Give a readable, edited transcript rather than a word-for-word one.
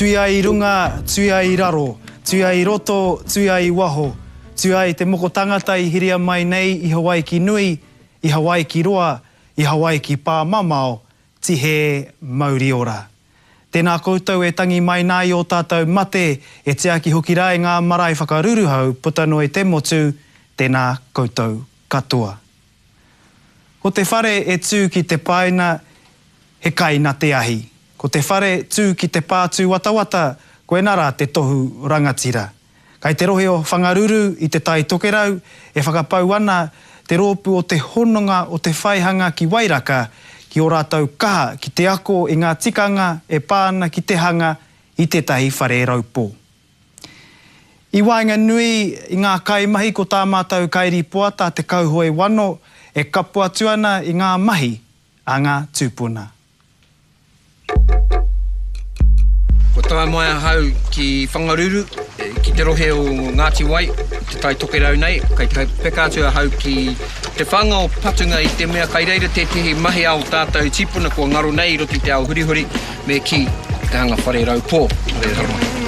Tuia i runga, tuia i raro, tuia i roto, tuia i waho, tuia i te moko tangata i hiria mai nei i Hawaiki nui, i Hawaiki roa, i Hawaiki pāmamao, tihē mauri ora. Tēnā koutou e tangi mai nā i ō tātou mate, e tiaki hoki rā i ngā marae whakaruruhau puta noa i te motu, tēnā koutou katoa. Ko te whare e tū ki te paina, he kai na te ahi. Ko te whare tū ki te pā tūwatawata, koina rā te tohu rangatira. Kai te rohe o Whangaruru i Te Tai Tokerau e whakapau ana te rōpū o te Hononga o Te Whaihanga ki Wairaka ki ō rātou kaha ki te ako i ngā tikanga e pā ana ki te hanga i tētahi whare raupō. I waenganui i ngā kaimahi ko tā mātou kairipoata Te Kauhoe Wano e kapo atu ana i ngā mahi a ngā tūpuna. Kua tae mai ahau ki Whangaruru, ki te rohe o Ngāti Wai, i Te Tai Tokerau nei. Kei te peka atu ahau ki te whanga o Patunga i te mea kai reira tētehi mahi a o tātou tīpuna kua ngaro nei i roto i te ao hurihuri, me kī, te hanga whare raupō. Whare raupō.